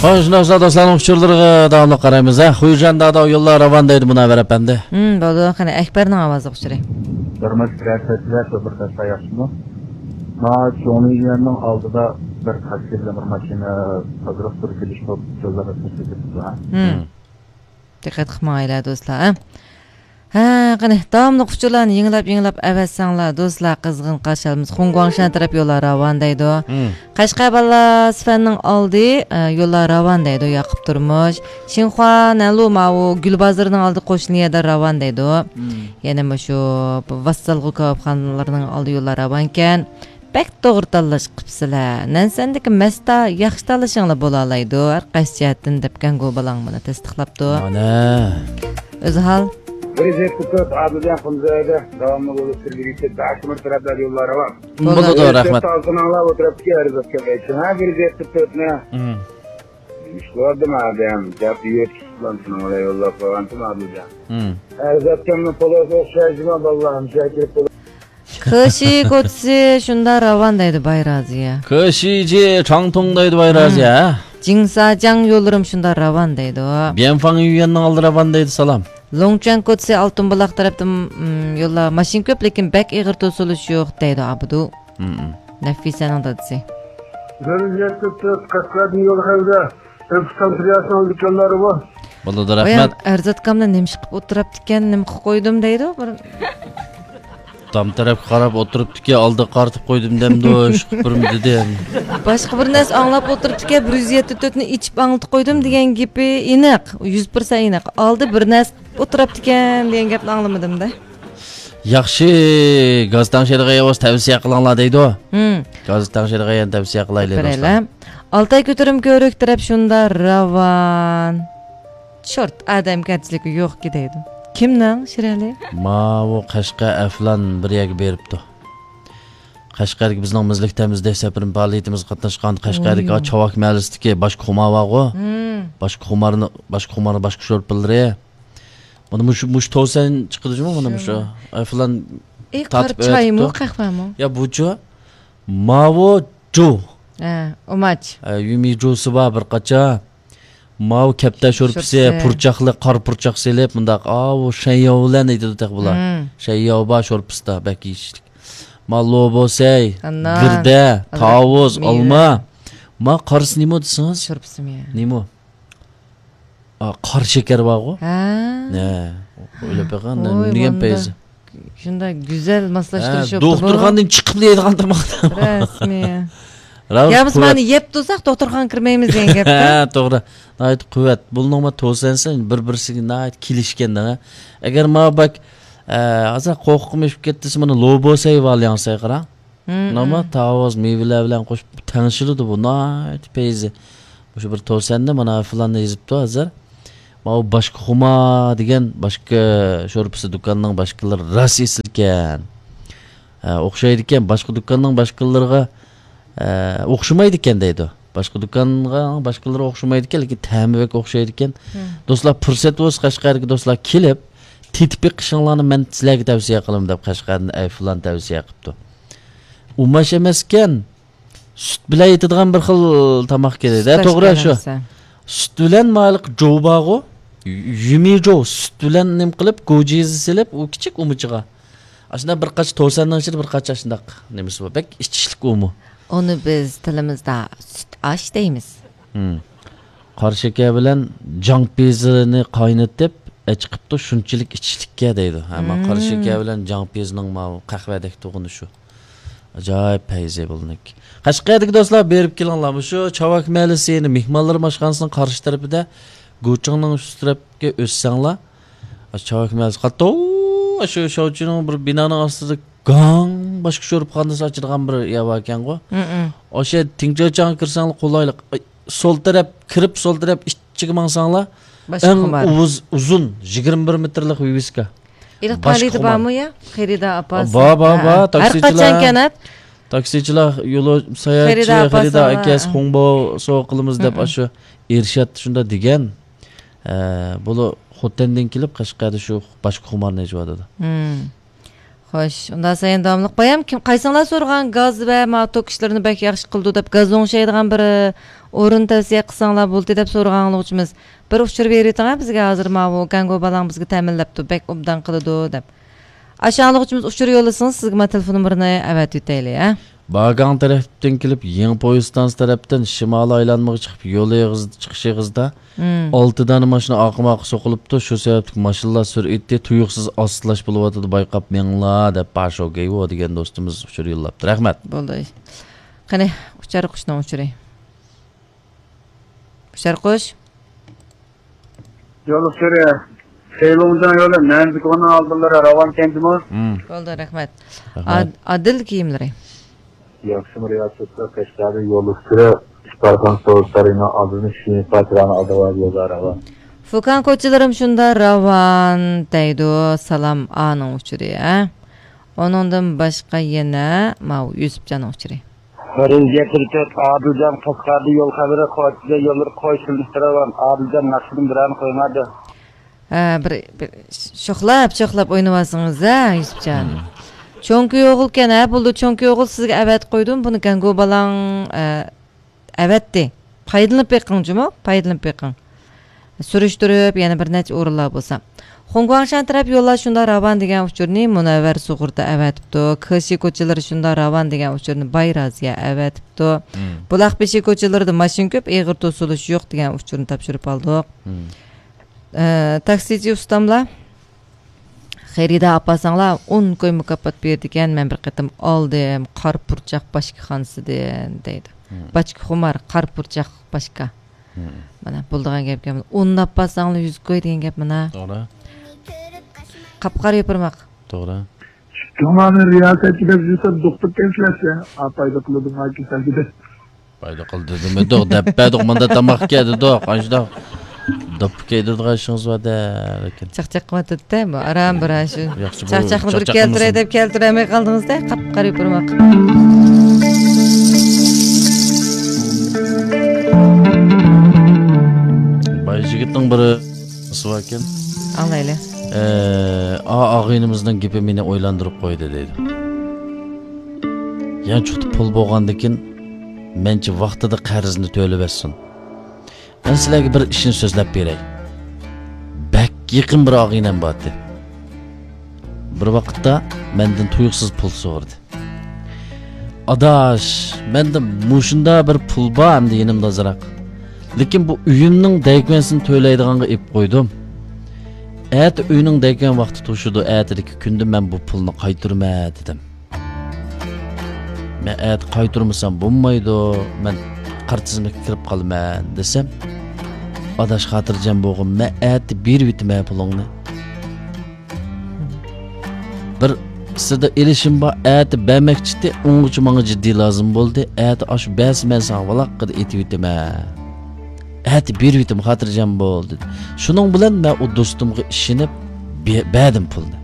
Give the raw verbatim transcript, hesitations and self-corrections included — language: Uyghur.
شۇنداق بولسا دوستلارنىڭ ئۇچۇرلىرىغا داۋاملىق قارايمىز، ھە. خۇيجان دادا يوللار راۋان دەيدۇ مۇنەۋۋەر ئەپەندى. ھىم، بولىدۇ. قېنى، ئەكبەرنىڭ ئاۋازلىق ئۇچۇرى. بىر مۇنچە بىرەر سەتلەر شۇ بىر تاشلا ياخشىمۇ؟ ما چوڭلىيەننىڭ ئالدىدا بىر تاكسى بىلەن بىر ماشىنا تازىلىق تۇرۇپ كېلىش بولۇپ يوللار ئۆتكۈزۈپ كېتىپتۇ، ھە؟ ھىم. ھىم. دىققەت قىلىپ ماڭايلى دوستلار، ھە؟ ھە، قېنى، داۋاملىق ئۇچۇرلارنى يېڭىلاپ، يېڭىلاپ ئەۋەتسەڭلار، دوستلار، قىزغىن قارشى ئالىمىز. خۇڭگۇاڭشەن تەرەپ يوللار راۋان دەيدۇ. ھىم. قەشقەر بالىلار سىفەننىڭ ئالدى، ئە، يوللار راۋان دەيدۇ، ياقۇپ تۇرمۇش. شىنخۇا، نەنلۇ ماۋۇ گۈل بازىرىنىڭ ئالدى قوشنا يەردە راۋان دەيدۇ. ھىم. يەنە مۇشۇ ۋاسسالغۇ كاۋاپخانىلىرىنىڭ ئالدى يوللار راۋانكەن. بەك توغرا تاللاش قىپسىلە. نەنسەندىكى مەستا ياخشى تاللىشىڭلار بولالايدۇ، ھەر قايسى جەھەتتىن دەپكەنغۇ بالاڭ مانا تەستىقلاپتۇ. مانا. ئۆزى ھال. بىر يۈز يەتتە تۆت ئابىدە قۇمزايدا داۋاملىق بولۇپ تۇرۇۋېرىشى، داش مىر تەرەپلەر يوللار راۋان. بولىدۇ، بىر يۈز رەھمەت. يەتتە ئالتىنىڭلار ئولتۇرۇپتىكى ھەرىزەتكە قايتىشىڭ. ھە، بىر يۈز يەتتە تۆتنى. مم. ئىش قىلىۋاتىدىم ئادەم. گەپ يۆتكىسىدىن سېنىڭ بىلەن يوللاپ قويغانتىم ئابىجان. مم. ھەرىزەتكەمنى پولوسى ئوخشايدىما باللا، مۇشۇ كىرىپ بولۇپ. خېشى كوتسى شۇندا راۋان دەيدۇ باي رازىيە. كېشىجى چاڭتۇڭ دەيدۇ باي رازىيە. جىڭساجاڭ يوللىرىم شۇندا راۋان دەيدۇ. بيەنفاڭ يۈيۈەننىڭ ئالدى راۋان دەيدۇ سالام. لوڭچۈەن كوتسى ئالتۇن بۇلاق تەرەپتىن، م، يوللار ماشىنا كۆپ، لېكىن بەك ئېغىر توسۇلۇش يوق دەيدۇ ئابىدۇ. مم. نەفىسەنىڭ دادىسى. بىر يەتتە تۆت قەشقەردىن يول خەۋدە. ئۆپۈستان پىرياسنىڭ دۇكانلىرى بار. بولىدۇ، ئايام رەھمەت. ئەرزاتكامنى نېمىش قىلىپ ئولتۇرۇپتىكەن، نېمە قىلىپ قويدۇم دەيدۇ. بىر تام تەرەپكە قاراپ ئولتۇرۇپتىكەن، ئالدىغا قارىتىپ قويدۇم دەمدۇ، ئىش قىلىپ بىرمۇ دېدىم. باشقا بىر نەرسە ئاڭلاپ ئولتۇرۇپتىكەن، بىر يۈز يەتتە تۆتنى ئېچىپ ئاڭلىتىپ قويدۇم دېگەن گېپى ئېنىق، يۈز پىرسەنت ئېنىق. ئالدى بىر نەرسە ئولتۇرۇپتىكەن دېگەن گەپنى ئاڭلىمىدىم-دە. ياخشى، گاز تەڭشەيدىغان ياۋاز تەۋسىيە قىلىڭلار دەيدۇ. ھىم. گاز تەڭشەيدىغان يەرنى تەۋسىيە قىلايلى، بېرەيلى. دوستلار. ئالتاي كۆتۈرۈم كۆۋرۈك تەرەپ شۇندا راۋان. چورت، ئادەمگەرچىلىكى يوقكى دەيدۇ. كىمنىڭ، شىرئەلى؟ ماۋۇ قەشقەر ئەفلان بىر يەرگە بېرىپتۇ. قەشقەردىكى بىزنىڭ مىزلىك تەمىزلەش سەپىرىمىز پائالىيىتىمىزگە قاتناشقان قەشقەردىكى ۋاي. چاۋاك مەھەللىسىدىكى باشقا خۇمار بارغۇ. ھىم. باشقا خۇمارنى، باشقا خۇمارنى باشقا شورپىلىرى. مانا مۇشۇ، مۇشۇ توسەن چىقىدۇ جۇمۇ، مانا مۇشۇ. شۇ. ئەفلان ئى، قارا تارتىپ چايمۇ، ئەۋەتىپتۇ. قەھۋەمۇ؟ يا بۇچۇ. ماۋۇ جو. ھە، ئۇماچ. ھە، يۈمى جوسى بار بىر قاچا. ماۋۇ كەپتەر شورپىسى، شورپىسى. پۇرچاقلىق، قارا پۇرچاق سېلىپ، مۇنداق، ئاۋۇ شەنياۋ بىلەن ئېيتىدۇ تېخى بۇلار. مم. شەنياۋ بار شورپىسىدا، بەك يېيىشلىك. ما لوبوسەي، ئانان، گىردە، ئانان، تاۋۇز، مېۋە. ئالما. ما قارىسى نېمە دېسىڭىز؟ شورپىسىمۇ يا؟ نېمە؟ ئا، قارا شېكەر بارغۇ؟ ھە. ھە. ئويلاپ بېقىڭ، ۋوي، نېمە دېگەن مانداق پەيزى؟ شۇنداق گۈزەل ماسلاشتۇرۇش ھە، بوپتۇ بۇ. دوختۇرخانىدىن چىقىپ يەيدىغان تاماق. رەسمىي. راۋۇش يا بىز قۇۋۋەت. مانا يەپ تۇرساق دوختۇرخانىغا كىرمەيمىز دېگەن گەپ. ھە، توغرا. ناھايىتى قۇۋۋەت. بۇلنىڭ ما توسەنسى بىر-بىرسىگە ناھايىتى كېلىشكەن دەڭە. ئەگەر ما بەك، ئە، ھازىر قورقۇقمۇ ئېشىپ كەتتىسە، مانا لوبوسەي ۋالياڭسەي قاراڭ. مم، ناما مم. تاۋۇز مېۋىلەر بىلەن قوشۇپ تەڭشىلىدۇ بۇ، ناھايىتى پەيزى. مۇشۇ بىر توسەندە مانا فىلاننى يېزىپتۇ ھازىر. ماۋۇ باشقا خۇما دېگەن باشقا شورپىسى دۇكاننىڭ باشقىلىرى راست ئېسىلكەن. ھە، ئوخشايدىكەن، باشقا دۇكاننىڭ باشقىلىرىغا، ھە، ئوخشىمايدىكەن دەيدۇ. باشقا دۇكانغا باشقىلىرى ئوخشىمايدىكەن، لېكىن تەمى بەك ئوخشايدىكەن. مم. دوستلار، پۇرسەت بولسا قەشقەردىكى دوستلار كېلىپ، تېتىپ بېقىشىڭلارنى مەن سىلەرگە تەۋسىيە قىلىمەن دەپ قەشقەردىن ئەي فىلان تەۋسىيە قىپتۇ. ئۇماش ئەمەسكەن. سۈت بىلەن يېتىدىغان بىر خىل تاماق كېلىدۇ. سۈت توغرا ئاشكەن شۇ. ئەمىسە. سۈت بىلەن مايلىق جو بارغۇ. يۈمى جو سۈت بىلەن نېمە قىلىپ، گوجىزى سېلىپ، ئۇ كىچىك ئۇمىچىغا. ئاشۇنداق بىر قاچا توسەننىڭ ئىچىدە بىر قاچا ئاشۇنداق نېمىسى بار. بەك ئىچىشلىك ئۇمۇ. ئۇنى بىز تىلىمىزدا سۈت ئاش دەيمىز. ھىم. قارا شېكەر بىلەن جاڭ پىيىزىنى قاينىتىپ، ئەچىقىپتۇ، شۇنچىلىك ئىچىشلىككە دەيدۇ. ھە، ما قارا مم. شېكەر بىلەن جاڭ پىيىزىنىڭ ماۋۇ قەھۋەدەك تۇغىنى شۇ. ئاجايىپ پەيزى بۇلىنىڭكى. قەشقەردىكى دوستلار، بېرىپ كېلىڭلار. مۇشۇ چاۋاك مەھەللىسى، يەنى مېھمانلار ئاشخانىسىنىڭ قارشى تەرىپىدە، گۇچىڭنىڭ ئۈستى تەرەپكە ئۆتسەڭلار، چاۋاك مەھەللىسى قاتتىق، شۇ شاۋچىنىڭ بىر بىنانىڭ ئاستىدا گاڭ باشقا شورپىخانىسى ئاچىدىغان بىر يەر باركەنغۇ. مم. ئاشۇ تىڭچاچاڭغا كىرسەڭلار قولايلىق. ئاي، سول تەرەپ كىرىپ، سول تەرەپ ئىچىگە ماڭساڭلار، باشقا ئەڭ خۇمار. ئۇز-، ئۇزۇن، يىگىرمە بىر مېتىرلىق ۋىۋىسكا. ئېلىق باشقا تالىيدا خۇمار. بارمۇ يا؟ خېرىدار ئاپاسى. بار، بار، ھە، بار. ھەر تاكسىچىلار، قاچان كەنەپ؟ تاكسىچىلار يولۇ ساياھەتچى، خېرىدار ئاپاسى خېرىدار ئاپاس، ئاكەس، ھە. خۇڭبو سوۋغا قىلىمىز دەپ مم. ئاشۇ ئېرشات شۇنداق دېگەن. ئە، بۇلار خوتەندىن كېلىپ قەشقەردە شۇ باشقا خۇمارنى ئېچىۋاتىدۇ. مم. خوش، ئۇنداق سەن داۋاملىق بايام كىم، قايسىڭلار سورىغان گاز ۋە ما توك ئىشلىرىنى بەك ياخشى قىلىدۇ دەپ، گاز ئوڭشايدىغان بىر، ئە، ئورۇن تەۋسىيە قىلساڭلار بولدى دەپ سورىغان ئاڭلىغۇچىمىز. بىر ئۇچۇر بېرىۋېتىڭ ھە بىزگە، ھازىر ماۋۇ گەڭگو بالاڭ بىزگە تەمىنلەپتۇ، بەك ئوبدان قىلىدۇ دەپ. ئاشۇ ئاڭلىغۇچىمىز ئۇچۇر يوللىسىڭىز سىزگە ما تېلېفون نومۇرىنى ئەۋەتىۋېتەيلى ھە. باگاڭ تەرەپتىن كېلىپ يېڭى پويىز ستانسا تەرەپتىن شىمالىي ئايلانمىغا چىقىپ يول ئېغىز-، چىقىش ئېغىزىدا مم. ئالتە دانە ماشىنا ئارقىمۇ ئارقا سوقۇلۇپتۇ، شۇ سەۋەبلىك ماشىنىلار سۈرئىتى تۇيۇقسىز ئاستىلاش بولۇۋاتىدۇ، بايقاپ مېڭىڭلار دەپ پاشو گەيۋو دېگەن دوستىمىز ئۇچۇر يوللاپتۇ. رەھمەت. بولدى. قېنى، ئۇچار قۇشنىڭ ئۇچۇرى. ئۇچار قۇش. يول ئۇچۇرى. خېيلۇڭجاڭ يولى مەنزىكوننىڭ ئالدىلىرى راۋان كەنتىمۇ؟ مم. بولدى، رەھمەت. رەھمەت. ئاد-، ئادىل كىيىملىرى. ياخشىمۇ رىياسەتلەر، قەشقەردە يول ئۇچۇرى ئىپارخان سوۋېت سارىيىنىڭ ئالدىدىن شىنفا كىرانى ئالدىغا يولدا راۋان. فۇكان كوچىلىرىم شۇندا راۋان دەيدۇ، سالام ئانىڭ ئۇچۇرى، ھە؟ ئۇنىڭدىن باشقا يەنە ماۋۇ يۈسۈپجاننىڭ ئۇچۇرى. رېزىيە تۆت، ئادىلجان قەشقەردە يول خەۋىرى، قوچىدا يوللىرى قوي سېلىنىشتا راۋان. ئادىلجان ناخشىدىن بىرەرنى قويۇڭلار دە. ھە، بىر، بىر شوخلاپ، شوخلاپ ئوينىۋالسىڭىز ھە، يۈسۈپجان. مم. چوڭكى ئوغۇلكەن ھە، بولدى، چوڭكى ئوغۇل سىزگە ئەۋەتىپ قويدۇم، بۇنى گەڭگو بالاڭ، ئە، ئەۋەتتى. پايدىلىنىپ بېقىڭ جۇمۇ، پايدىلىنىپ بېقىڭ. سۈرۈشتۈرۈپ، يەنە بىر نەچچە ئورۇنلار بولسا. خۇڭگۇاڭشان تەرەپ يوللار شۇنداق راۋان دېگەن ئۇچۇرنى مۇنەۋۋەر سۇغۇرتا ئەۋەتىپتۇ. كېشى كوچىلىرى شۇنداق راۋان دېگەن ئۇچۇرنى باي رازىيە ئەۋەتىپتۇ. مم. بۇلاق بېشى كوچىلىرىدا ماشىنا كۆپ، ئېغىر توسۇلۇش يوق دېگەن ئۇچۇرنى تاپشۇرۇپ ئالدۇق. مم. ئە، تاكسىچى ئۇستاملار، خېرىدار ئاپارساڭلار، ئون كوي مۇكاپات بېرىدىكەن، مەن بىر قېتىم ئالدىم، قارا پۇرچاق باشكىخانىسىدىن، دەيدۇ. مم. باچكا خۇمار، قارا پۇرچاق باشكا. مم. مانا، بولىدىغان گەپكەن. ئوننى ئاپارساڭلار، يۈز كوي دېگەن گەپ مانا. توغرا. قاپقارا يوپۇرماق. توغرا. شۇڭلارنى رىياسەتچى دەپ يۈرسەم، دوختۇر كەمسىلەشسە، ئا، پايدا قىلىدۇ، ما كېسەلگە دەپ. پايدا قىلدى دېمىدۇق، دەپ بەردۇق، مۇندا تاماق ئىكەن دېدۇق، ئاشۇنداق دوپپا كىيدۈرىدىغان ئىشىڭىز بار-دە، لېكىن. چاقچاق قىلىۋاتىدۇ-دە، بۇ ئاران بىر ئاشۇ. ياخشى، بۇ چاقچاقنى بىر چاقچاق كەلتۈرەي قىلمىسۇن. دەپ كەلتۈرەلمەي قالدىڭىز-دە، قاپقارا يوپۇرماق. باي يىگىتنىڭ بىر نېمىسى باركەن. ئاڭلايلى. ئە، ئا، ئاغىنىمىزنىڭ گېپى مېنى ئويلاندۇرۇپ قويدى، دەيدۇ. يەنە چوقتا پۇل بولغاندىكىن، مەنچە ۋاقتىدا قەرزنى تۆلىۋەتسۇن. مەن سىلەرگە بىر ئىشنى سۆزلەپ بېرەي. بەك يېقىن بىر ئاغىنەم بارتى. بىر ۋاقىتتا مەندىن تۇيۇقسىز پۇل سورىدى. ئاداش، مەندە مۇشۇنداق بىر پۇل بار ئەمدى يېنىمدا ئازراق. لېكىن بۇ ئۆيۈمنىڭ دەيكۈەنسىنى تۆلەيدىغانغا ئېلىپ قويدۇم. ئەتە ئۆينىڭ دەيكۈەن ۋاقتى توشىدۇ، ئەتىدىكى كۈندە مەن بۇ پۇلنى قايتۇرىمەن، دېدىم. مەن ئەتە قايتۇرمىسام بولمايدۇ، مەن قارا تىزىملىككە كىرىپ قالىمەن، دېسەم، ئاداش خاتىرجەم بولغىن، مەن ئەتە بېرىۋېتىمەن پۇلۇڭنى. بىر سىردا ئېلىشىم بار، ئەتە بەرمەكچىتى، ئۇنىڭغىچە ماڭا جىددىي لازىم بولدى، ئەتە ئاشۇ بەرسە مەن ساڭا ۋالاققىدە ئېتىۋېتىمەن. ئەتە بېرىۋېتىم، خاتىرجەم بول، دېدى. شۇنىڭ بىلەن مەن ئۇ دوستۇمغا ئىشىنىپ بە-، بەردىم پۇلنى.